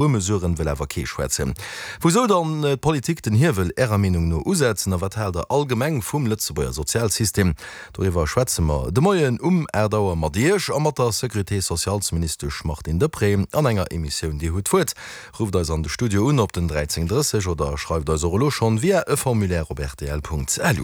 Spuermesuren wëll awer kee schwätzen. Wou soll dann d'Politik den Hiewel Ärer Meenung no usetzen a wat haalt der allgemeng vum Lëtzebuerger Sozialsystem? Doriwwer schwätze mer de Moien um 8 Auer mat Iech a mat der Sécurité-socialesministesch Martine Deprez an enger Emissioun Dir hutt d'Wuert. Rufft eis an de Studio un op den 13 30 oder schreift eis och elo schonn via e Formulaire op rtl.lu.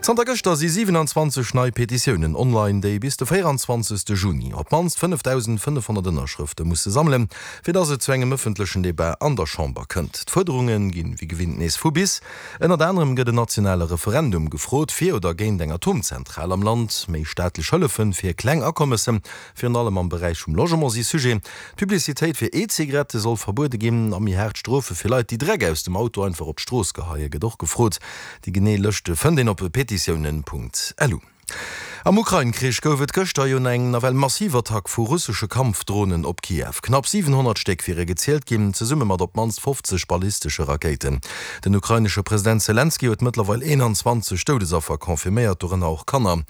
Zanter gëschter si 27 nei Petitiounen online, déi bis de 24 Juni op d'mannst 5.500 Ënnerschrëfte musse sammelen. Fir dass et zu engem ëffentlechen Debat an der Chamber kënnt. D'Fuerderunge ginn wéi gewinnt nees vu bis. Ënnert anerem gëtt en nationale Referendum gefrot, fir oder géint eng Atomzentral am Land. Méi staatlech Hëllefe fir kleng Akommesse, virun allem am Beräich vum Logement, si Sujet. D'Publicitéit fir E-Zigarette soll verbuede ginn a méi haart Strofe fir Leit, déi Dreck aus dem Auto einfach op d'Strooss geheie gëtt och gefrot. Déi genee Lëscht fënnt een op petitiounen.lu. Am Ukrain-Krich gouf et gëschter jo eng nawell massiv Attack vu russesche Kampfdronen op Kiew. Knapp 700 Stéck wiere gezielt ginn, zesumme mat op d'mannst 50 ballistesche Rakéiten. Den ukrainesche President Selenskyj huet mëttlerweil 21 Doudesaffer confirméiert, dorënner och Kanner.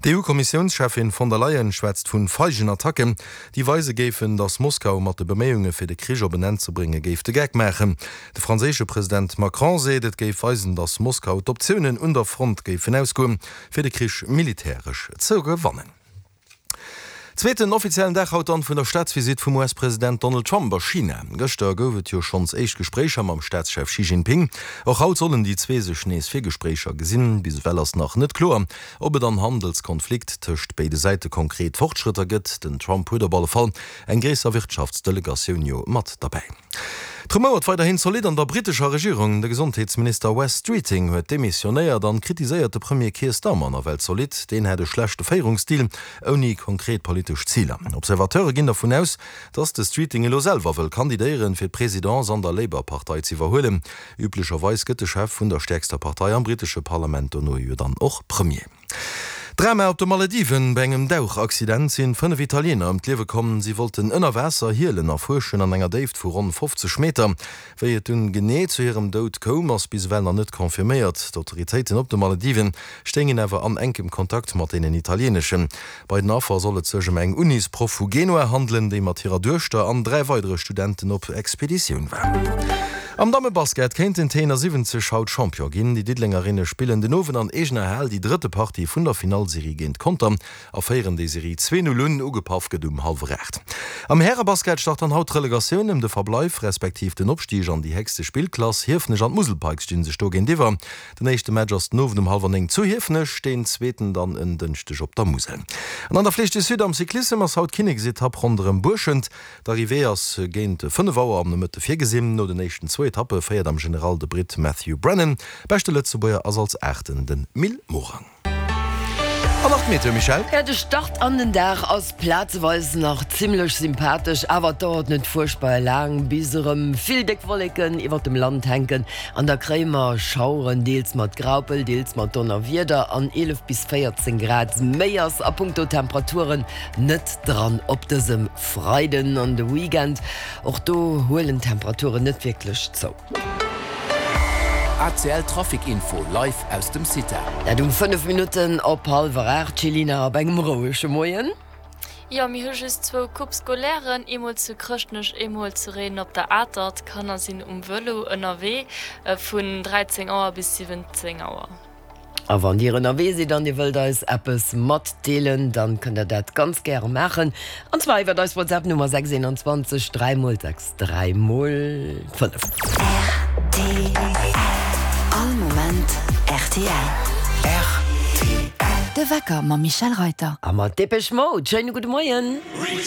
D'EU-Kommissiounscheffin von der Leyen schwätzt vu feigen Attacken, déi weise géifen, datt Moskau mat de Beméiunge fir de Krich op en Enn ze brénge géif de Geck maachen. De franséische President Macron seet, et géif weisen, datt Moskau d'Optiounen un der Front géifen ausgoen, fir de Krich militäresch ze gewannen. Zweeten offiziellen Dag haut dann vun der Staatsvisitt vum US-President Donald Trump a China. Gëschter gouf et jo schonns éischt Gespréicher mam Staatschef Xi Jinping. Och haut sollen déi zwee sech nees fir Gespréicher gesinn. Bis ewell ass nach net kloer, ob et am Handelskonflikt tëscht béide Säite konkret Fortschrëtter gëtt. Den Trump huet op alle Fall eng gréisser Wirtschaftsdelegatioun jo mat derbäi. Et rumouert weiderhin zolidd an der brittescher Regierung. De Gesondheetsminister Wes Streeting huet demissionéiert an kritiséiert de Premier Keir Starmer nawell zolidd. Deen hätt e schlechte Féierungsstil, ouni konkret politesch Ziler. Observateure ginn dervun aus, datt de Streeting elo selwer wëll kandidéieren, fir d'Presidence an der Labour-Partei z'iwwerhuelen. Üblecherweis gëtt de Chef vun der stäerkster Partei am brittesche Parlament dono jo dann och Premier. Drama op de Malediven, Bei engem Dauchaccident sinn 5 Italiener ëm d'Liewe komm. Si wollten ënner Waasser Hielen erfuerschen an enger Déift vu ronn 50 Meter. Wéi et dunn genee zu hirem Doud koum, ass bis ewell nach net confirméiert. D'Autoritéiten op de Malediven stéingen awer an enkem Kontakt mat deenen italieneschen. Bei den Affer soll et sech ëm eng Unisproff vu Genua handelen, déi mat hirer Duechter an 3 weidere Studenten op Expeditioun war. Am Dammebasket kéinten d'T71 haut Champion ginn. Déi Diddelengerinne spillen den Owend an eegener Hal déi drëtte Partie vun der Finallserie géint Conter a féieren déi Serie 2, 0 un. Ugepaff gëtt um hallwer 8. Am Härebasket start dann haut d'Relegatioun ëm de Verbleif respektiv den Opstig an déi héchste Spillklass. Hiefenech an d'Musel Pikes sti sech do géintiwwer. Den éischte Match ass den Owend um hallwer 9 zu Hiefenech, deen zweeten dann en Dënschdeg op der Musel. An an der Flèche du Sud am Cyclissem ass haut d'Kinneksetapp ronderëm Buerschent. D'Arrivée ass géint 5 Auer am Nomëtte virgesinn. No den éischten zwou Etappe féiert am General de Britt Matthew Brennan. Beschte Lëtzebuerger ass als Aachten den Mil Morang. An nach d'Meteo, Michèle? Jo, de Start an den Dag ass plazeweis nach zimmlech sympathesch, awer et dauert net fuerchtbar laang, bis erëm vill déck Wolleken iwwert dem Land hänken an da kréie mer Schaueren, deels mat Graupel, deels mat Donnerwieder an 11 bis 14 Grad. Méi ass a punkto Temperaturen net dran op dësem Freiden an de Weekend. Och do huelen d'Temperaturen net wierklech zou. ACL Trafic Info live aus dem CITA. Dat um 5 Minutten op hallwer 8. Céline, op engem rouege Moien. Jo, mir hu just zwou Coupe scolairen, eemol zu Chrëschtnech, eemol zu Réiden op der Atert. D'Kanner sinn um Vëlo ënnerwee vun 13 Auer bis 17 Auer. A wann Dir ënnerwee sidd an Dir wëllt eis eppes matdeelen, dann kënnt der dat ganz gäre maachen, an zwar iwwert eis WhatsApp Nummer 6 21 3 mol 6 3 mol 5. Rtl, All Moment rtl. Rtl. De Wecker mam Michèle Reyter. A mat Depeche Mode. Schéine gudde Moien.